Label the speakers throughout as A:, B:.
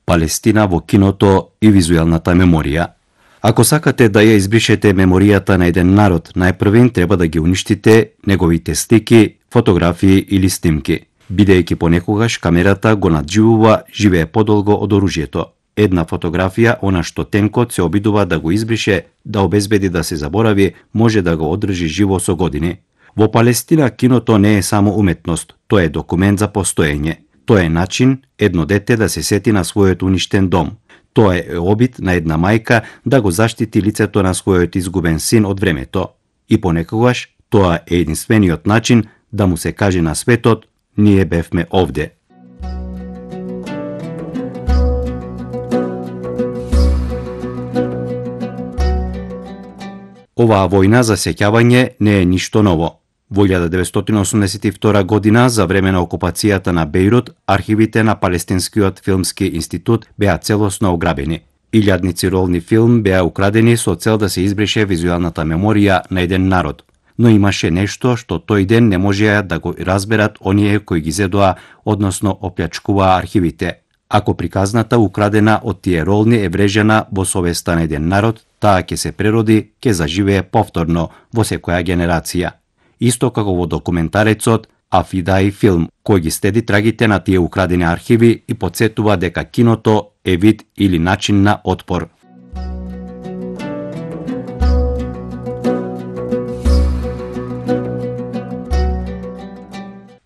A: Палестина во киното и визуелната меморија. Ако сакате да ја избришете меморијата на еден народ, најпрвен треба да ги уништите неговите слики, фотографии или снимки. Бидејќи понекогаш камерата го надживува, живее подолго од оружјето. Една фотографија, она што тенкот се обидува да го избрише, да обезбеди да се заборави, може да го одржи живо со години. Во Палестина киното не е само уметност, тоа е документ за постоење. Тоа е начин едно дете да се сети на својот уништен дом. Тоа е обид на една мајка да го заштити лицето на својот изгубен син од времето. И понекогаш тоа е единствениот начин да му се каже на светот: ние бевме овде. Оваа војна за сеќавање не е ништо ново. Во 1982 година, за време на окупацијата на Бејрут, архивите на Палестинскиот филмски институт беа целосно ограбени. Илјадници ролни филм беа украдени со цел да се избрише визуелната меморија на еден народ. Но имаше нешто што тој ден не можеа да го разберат оние кои ги зедоа, односно оплячкуваа архивите. Ако приказната украдена од тие ролни е врежена во совеста на еден народ, таа ќе се прероди, ќе заживее повторно во секоја генерација. Исто како во документарецот Афидаи филм, кој ги следи трагите на тие украдени архиви и потсетува дека киното е вид или начин на отпор.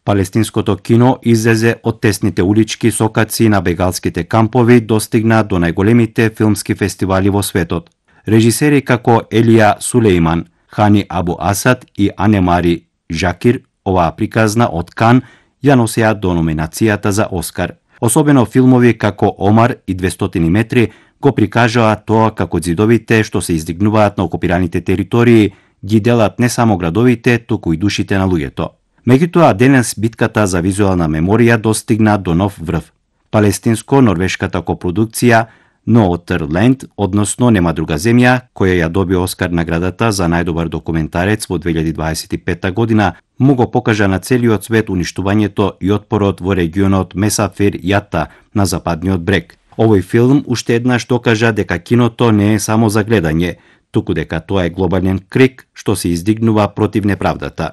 A: Палестинското кино излезе од тесните улички сокаци на бегалските кампови, достигна до најголемите филмски фестивали во светот. Режисери како Елија Сулејман, Хани Абу Асад и Анемари Жакир, оваа приказна од Кан ја носеа до номинацијата за Оскар. Особено филмови како Омар и 200 метри го прикажаа тоа како ѕидовите што се издигнуваат на окупираните територии ги делат не само градовите, туку и душите на луѓето. Меѓутоа, денес битката за визуелна меморија достигна до нов врв. Палестинско-норвешката копродукција No Other Land, односно Нема друга земја, која ја доби Оскар наградата за најдобар документарец во 2025 година, му го покажа на целиот свет уништувањето и отпорот во регионот Месафир Јата на западниот брег. Овој филм уште еднаш докажа дека киното не е само за гледање, туку дека тоа е глобален крик што се издигнува против неправдата.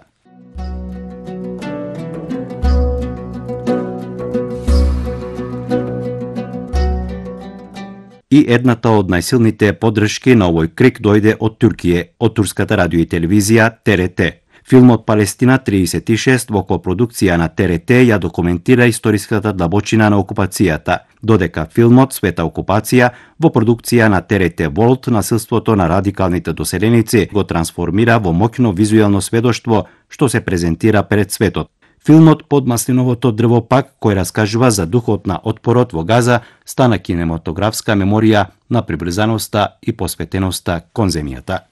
A: И едната од најсилните поддршки на овој крик дојде од Туркија, од турската радио и телевизија ТРТ. Филмот Палестина 36 во копродукција на ТРТ ја документира историската длабочина на окупацијата, додека филмот Света окупација во продукција на ТРТ Волт насилството на радикалните доселеници го трансформира во моќно визуелно сведоштво што се презентира пред светот. Филмот Под маслиновото дрво пак, кој раскажува за духот на отпорот во Газа, стана кинематографска меморија на прибрзаноста и посветеноста кон земјата.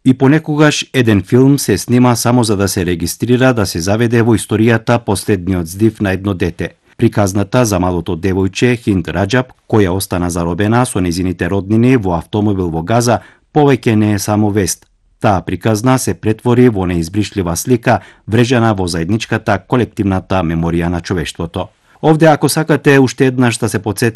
A: И понекогаш еден филм се снима само за да се регистрира, да се заведе во историјата последниот здив на едно дете. Приказната за малото девојче Хинд Раџаб, која остана заробена со нејзините роднини во автомобил во Газа, повеќе не е само вест. Таа приказна се претвори во неизбришлива слика, врежена во заедничката колективната меморија на човештвото. Овде, ако сакате уште еднаш да се потсетите